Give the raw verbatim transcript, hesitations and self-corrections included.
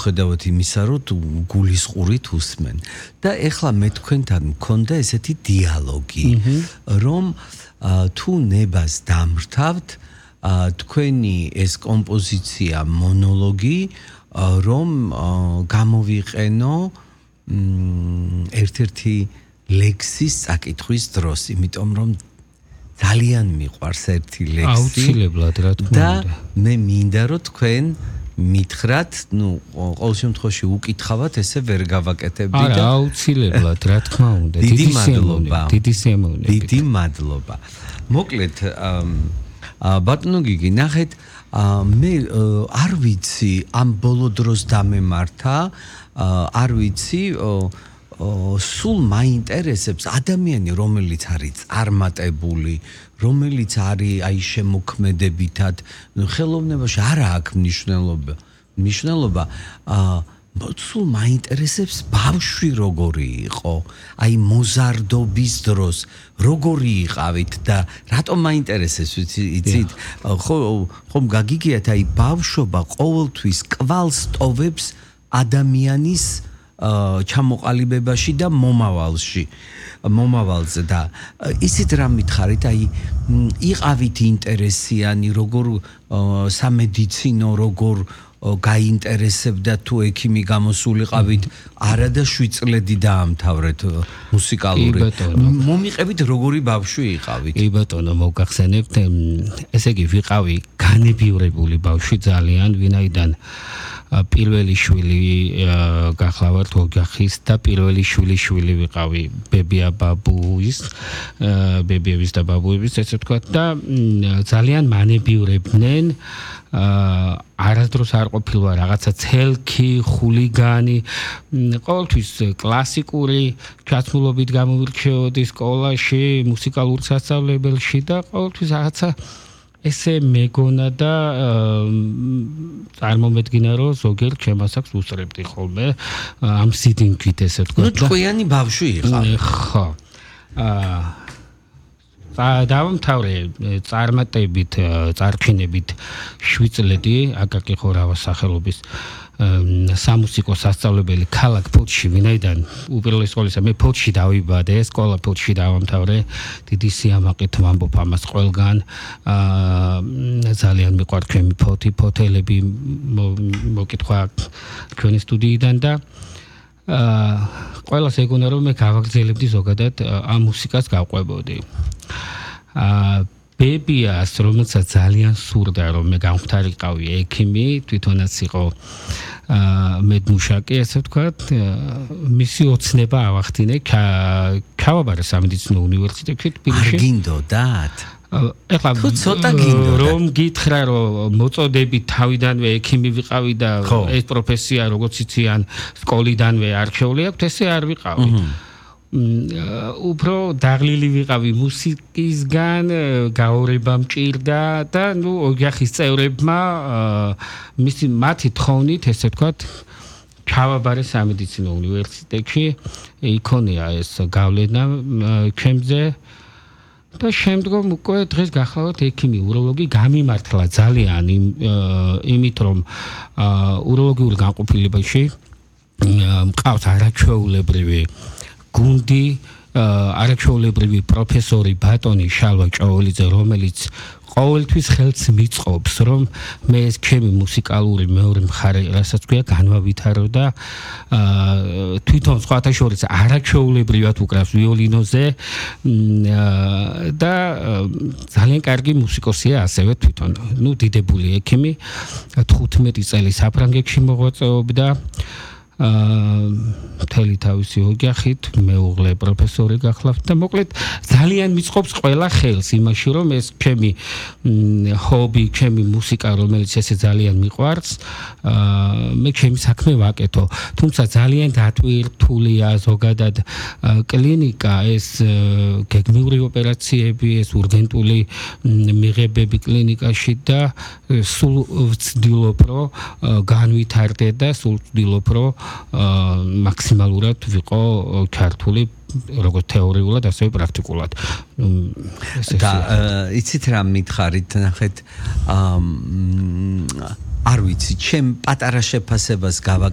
მიუხედავად იმისა, რომ გულისყურით უსმენ. და ეხლა მე თქვენთან მქონდა ესეთი დიალოგი, რომ თუ ნებას დამრთავთ, თქვენი ეს კომპოზიცია მონოლოგი, რომ გამოვიყენო ერთ-ერთი ლექსის წაკითხვის დროს, იმიტომ რომ ძალიან მიყვარს ერთი ლექსი. აუცილებლად რა თქმა და უნდა. მე მინდა რომ თქვენ მითხრათ, ну, ყოველ შემთხვევაში უკითხავთ, ესე ვერ გავაკეთებდი და არა, აუცილებლად რა თქმა უნდა. დიდი მადლობა. დიდი სიამოვნებით. დიდი მადლობა. მოკლედ, ბატონო გიგი, ნახეთ, მე არ ვიცი, ამ ბოლო დროს დამემართა, არ ვიცი, სულ მაინტერესებს ადამიანი, რომელიც არის წარმატებული, რომელიც არის აი შემოქმედებითად, ხელოვნებაში არ აქვს მნიშვნელობა. მნიშვნელობა სულ მაინტერესებს ბავშვი როგორი იყო, აი მოზარდობის დროს როგორი იყავით და რატომ მაინტერესებს, იცით? ხო, ხომ გაგიგიათ, აი ბავშვობა ყოველთვის კვალს ტოვებს ადამიანის ჩამოყალიბებაში და მომავალში მომავალზე და ისიც რა მითხარით, აი იყავით ინტერესიანი, როგორ სამედიცინო, როგორ გაინტერესებდა თუ ექიმი გამოსულიყავით, არა და შვიდ წლები დაამთავრეთ მუსიკალური. მომიყევით როგორი ბავშვი იყავით? კი ბატონო, მოგახსენებთ, ესე იგი ვიყავი განებიურებული ბავშვი ძალიან, ვინაიდან პირველი შვილი გახლავართ ოჯახის და პირველი შვილი შვილი ვიყავი ბებია ბაბუის, ბებიების და ბაბუების, ესე ვთქვათ და ძალიან მანებიურებდნენ, არასდროს არ ყოფილვარ რაღაცა ცელქი, ხულიგანი, ყოველთვის კლასიკური ჩაცმულობით გამოვირჩეოდი სკოლაში, მუსიკალურ სასწავლებელში და ყოველთვის რაღაცა ესე მეგონა და წარმომედგინა, რომ ზოგიერთ ჩემასაკს უსწრებდი ხოლმე ამ სიდინგით, ესე ვთქვათ. ნუ ჭკვიანი ბავშვი იყავ. ხო. აა დავამთავრე წარმატებით, წარჩინებით შვიდ წლები აკაკი ხორავას სახელობის სამუსიკო სასწავლებელი ქალაქ ფოთში, ვინაიდან უპირველეს ყოვლისა მე ფოთში დავიბადე, სკოლა ფოთში დავამთავრე, დიდი სიამაყით ვამბობ ამას ყველგან, ძალიან მიყვართ ჩემი ფოთი, ფოთელები მოკითხვა ჩვენი სტუდიიდან და ყველას ეგონა რომ მე გავაგრძელებდი ზოგადად ამ მუსიკას გავყვებოდი. ბებიას, რომელსაც ძალიან სურდა რომ მე გამختارიყავი ექიმი, თვითონაც იყო მედმუშაკი, ესე ვთქვათ, მისი ოცნება ავახდინე, ჩავაბარე სამედიცინო უნივერსიტეტში თბილისში. არ გინდოდათ? ეხლა ცოტა გინდოდა. რომ გითხრა რომ მოწოდები თავიდანვე ექიმი ვიყავი და ეს პროფესია როგორც იციან სკოლიდანვე არჩეული აქვს, ესე არ ვიყავი. უფრო დაღლილი ვიყავი მუსიკისგან, გაორება მჭირდა და ნუ ოჯახის წევრებმა მისი მათი თხოვნით, ესე ვთქვათ, ჩავაბარე სამედიცინო უნივერსიტეტში, იქონია ეს გავლენა ჩემზე და შემდგომ უკვე დღეს გახლავართ ექიმი, უროლოგი, გამიმართლა ძალიან იმით, რომ უროლოგიურ განყოფილებაში მყავს არაჩვეულებრივი გუნდი, არაჩვეულებრივი პროფესორი ბატონი შალვა ჭაოლიძე, რომელიც ყოველთვის ხელს მიწყობს, რომ მე ეს ჩემი მუსიკალური მეორე მხარე, რასაც ქვია, განვავითარო და თვითონ სხვათა შორის არაჩვეულებრივად უკრავს ვიოლინოზე და ძალიან კარგი მუსიკოსია ასევე თვითონ. ნუ დიდებული ექიმი, თხუთმეტი წელი საფრანგეთში მოღვაწეობდა. მთელი თავისი ოჯახით, მეუღლე პროფესორი გახლავთ და მოკლედ ძალიან მიწყობს ყველა ხელს იმაში, რომ ეს ჩემი ჰობი, ჩემი მუსიკა, რომელიც ესე ძალიან მიყვარს, მე ჩემი საქმე ვაკეთო. თუმცა ძალიან დატვირთულია ზოგადად კლინიკა, ეს გეგმიური ოპერაციები, ეს ურგენტული მიღებები კლინიკაში და სულ ვცდილობ, რომ განვითარდე და სულ ვცდილობ, რომ მაქსიმალურად ვიყო ქართული როგორც თეორიულად, ასევე პრაქტიკულად. და იცით რა მითხარით, ნახეთ, არ ვიცი, ჩემ პატარა შეფასებას გავაკეთე